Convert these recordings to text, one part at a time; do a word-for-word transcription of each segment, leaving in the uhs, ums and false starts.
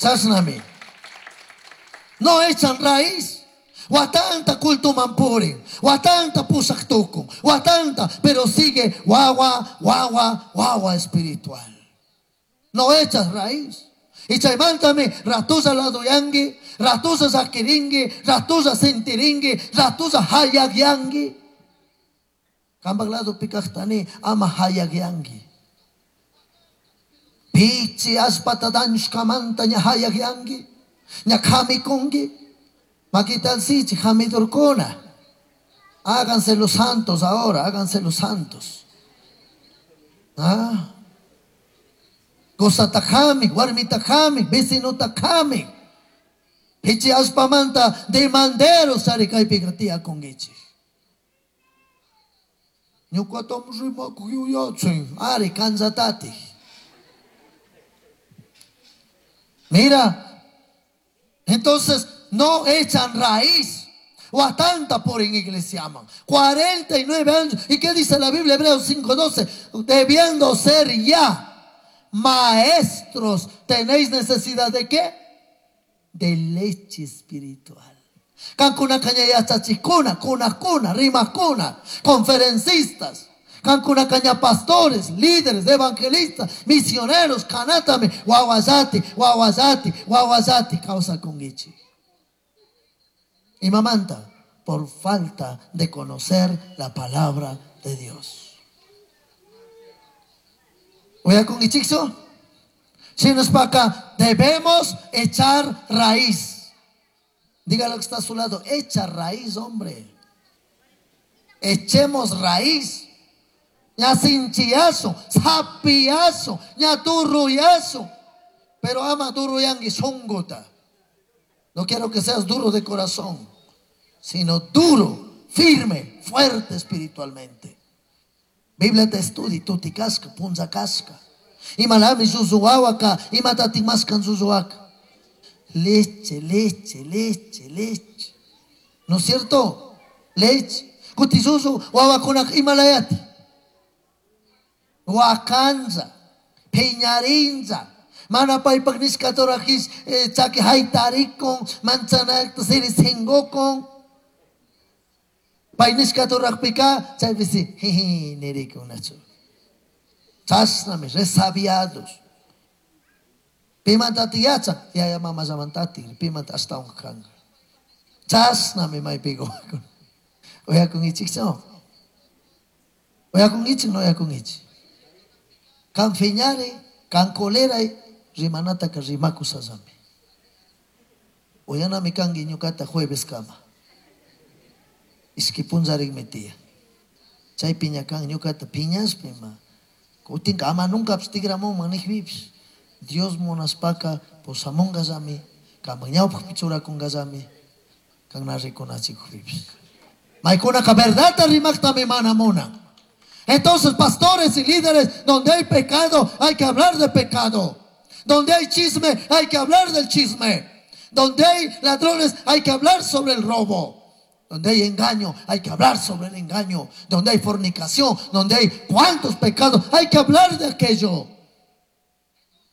Chashnami. No echan raíz. Watanta cultuman purin, watanta pusaq tukun, watanta, pero sigue wawa, wawa, wawa espiritual. No echas raíz. Y chaymantami ratuza ladoyangi, ratuza sakiringi, ratuza sintiringi, ratuza hayagyangi. Kambak lado pikaqtani ama hayagyangi. Pichi aspata dañushkamanta ña hayagyangi, ña kamikungi. Maquitalsichi, jamidurkuna. Háganse los santos ahora, háganse los santos. Ah. Qosatajami, warmitajami, vecinotajami. Pichi aspamanta demanderos sarikaypiqa tiyakunkichik. Ñuqatam rimakuq yuyachin, ari kanzatati. Mira, entonces no echan raíz. Watanta por en iglesia man. cuarenta y nueve años. ¿Y qué dice la Biblia? Hebreos cinco doce. Debiendo ser ya maestros, ¿tenéis necesidad de qué? De leche espiritual. Cancuna caña yachachikuna, cuna cuna, rimacuna, conferencistas. Cancuna caña pastores, líderes, evangelistas, misioneros, canátame, guaguayati, guaguayati, guaguayati, causa conguichi. Y mamanta, por falta de conocer la palabra de Dios. ¿Voy a con ichixo? Si nos pa acá, debemos echar raíz. Dígalo que está a su lado, echa raíz, hombre. Echemos raíz. Ña sinchiazo, sapiazo, ña turruyazo. Pero ama duruyangui songota. No quiero que seas duro de corazón, sino duro, firme, fuerte espiritualmente. Biblia te estudi, tuti casca, punza casca. Imalami susuawaka, imatati mascan susuaca. Leche, leche, leche, leche. ¿No es cierto? Leche. Kutisusu, wawakunak imalayati. Huacanza, peñarinza. Mana paypak nishkatorajis chaki haytarikun, manzanakta sirisingokun. Pay nishkatorajpika, chaypisi jiji nirikunachu. Chashnami resabiados. Pimantati yacha, yaya mama llamantati, pimanta ashtawan kanka. Chashnami maypigo. Oyakun ichikcho. Oyakun ichik, no oyakun ichik. Kan fiñari, kan koleray, rimanataka rimakusallami. Oyanami kanki ñukata jueves kama. Ishki punllarikmi tiyan. Chay piña kan ñukata piñashpima. Kutinka ama nunca tigramunman nijpipish. Dios munaspaka pusamunkallami, kaman ñawpakpi churakunkallami, kan na rikunachikukpipish. Maykunaka verdadta rimaktami mana munan. Entonces, pastores y líderes, donde hay pecado, hay que hablar de pecado. Donde hay chisme, hay que hablar del chisme. Donde hay ladrones, hay que hablar sobre el robo. Donde hay engaño, hay que hablar sobre el engaño. Donde hay fornicación, donde hay cuantos pecados, hay que hablar de aquello.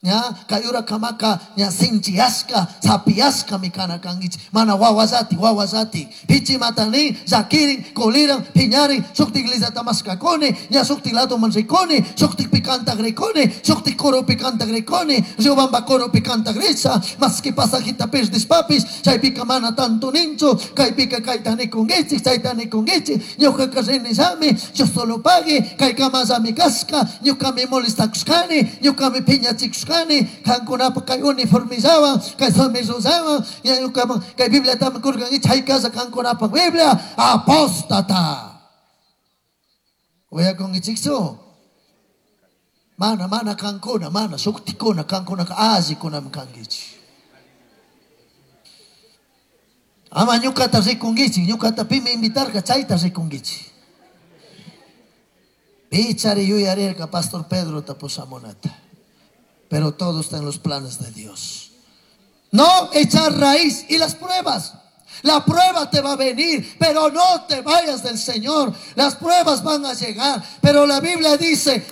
Ya, kayura kamaka, ya sinchiaska, sapiaska mi kana kangich, mana wawazati, wawazati, pichi matani, zakirin, koliran, piñarin, sukti iglesia tamaskakoni, ya sukti lado manriconi, sukti picanta greconi, sukti coro picanta greconi, riobamba coro picanta gresa, maski pasajita perdis papis, chay pica mana tanto nincho, kay pica kaitani kungichi, chaitani kungichi, ñuka karrenizami, yo solo pague, kay kamazami casca, ñuka mi molestakuskani, ñuka mi piñachikuskani. Kankunapa kay uniformizawan, kay somizuzawan, ñukaman kay Bibliatami kurkan chay casa kankunapa Biblia apóstata. Uyakunkichikchu? Mana mana kankuna, mana suktikuna kankunaka allikunami kankichik. Ama ñukata rikunkichik, ñukata pimi invitarka chayta rikunkichik. Pichari yuyarirka Pastor Pedro tapusamunata. Pero todo está en los planes de Dios. No echar raíz y las pruebas. La prueba te va a venir, pero no te vayas del Señor. Las pruebas van a llegar, pero la Biblia dice: